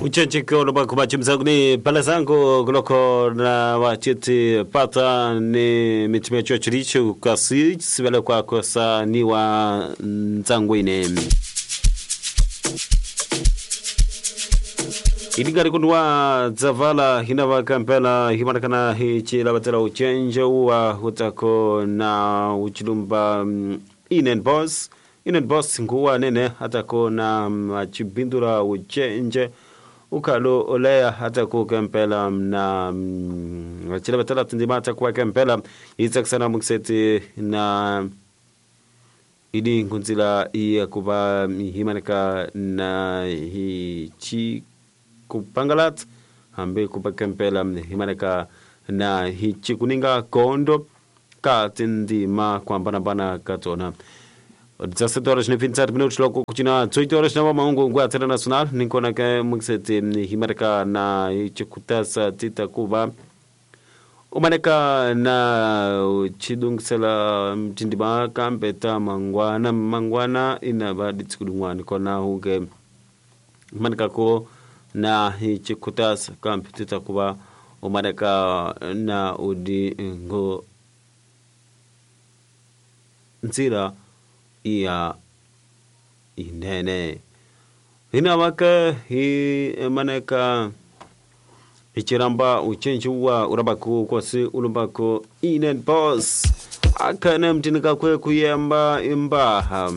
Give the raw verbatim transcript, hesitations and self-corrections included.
Uchencheko lobako bachimzagni palazango gloko na wachiti pata ni mitimecho chiricho kasi sibele kwa kosa ni wa nzangwine idigari kundwa dzavala hinava kampela himanakana hichilavatela uchenje uwa hutako na uchilumba mm, inen boss inen boss nguwa nene atako na machibindula uchenje ukhalo oleya atako kempela na mm, achilavatela tindima atakuwa kempela itsakisana mukiseti na idi nkunzila iya kuva himanaka na hichi kupangalat hambi kupakempela himanaka na hichi kuninga kondo ka tindima kuambanambana katona dezassete horas nem vinte e sete minutos logo kuchina dezoito horas na maungu ngwa tena nacional ninkona ke mukiseti himanaka na hichi kutasa tita kuva umaneka na chidungisela mtindima kampeta mangwana mangwana inava ditsikudungwani kona huke umaneka ko na hichikutasa kampetita kuva umaneka na udi ngo nzira iya inene hinavake hi maneka hichiramba uchenji wa urabaku kwasi ulumbako inen boss akhane mtinika kwe kuyemba imbaha.